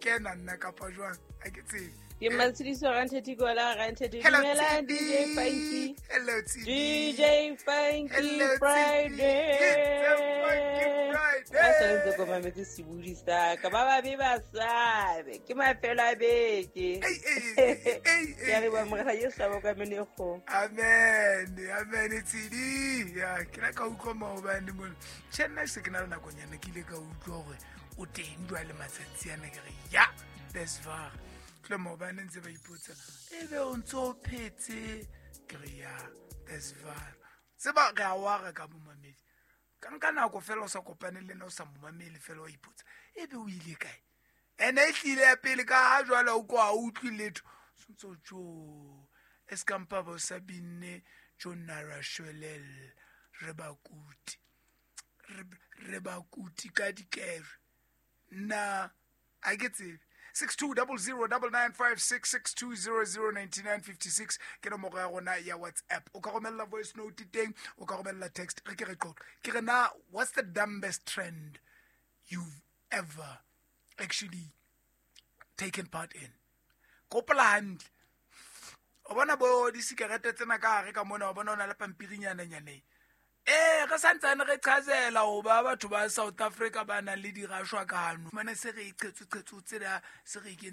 Kena nna kapa jwang, a ke tsebe. Ke Matshediso Rantheti Kola Rantheti. Hello, Dumelang Tshepi. DJ Funky. Hello, Tshepi. DJ Funky Hello, Tshepi. Friday. It's a Funky Friday. Ba santse ko mametse sebodi sa ka ba babe ba sabe ke mafelo a beke. Ei, ei, ei, ei, ei, Ke a leboha ei. morena Jesu a boka mene kgomo. Amen, amen, Tshedi. Ya, ke la ka utlwa maobane mona. Tjhe, nna se ke na le nakonyana ke ile ka utlwa hore o teng jwale matsatsi ana, ke re ya, that's far. Tle maobane ntse ba ipotsa, ebe o ntso o phetse? Ke re ya, that's far. Tseba re a wara ka momamedi. Ka nka nako fela o sa kopane le nna, o sa momamele fela, wa ipotsa, ebe o ile kae? Ene e tlile ya pele ka ha jwale o ko ha o utlwe letho. Sontso jo, e ska mpa ba o sa binne jo nara shwelel, re bakuti. Re bakuti ka dikere. Nna, ha ke tsebe. 6200 9956, 6200 9956 ke nomoro ya rona ya WhatsApp. O ka romella voice note teng, o ka romella text. Re ke re qoqe. Ke re na, what's the dumbest trend you've ever actually taken part in? Kopola hantle. O bona bo disikarete tsena ka hare ka mona, o bona o na le pampirinyana nyaneng. Re santsane re qhazela ho ba batho ba South Africa ba nang le dirashwa kano. Mane se re e qhetso, qhetso tsena, se re e kentse.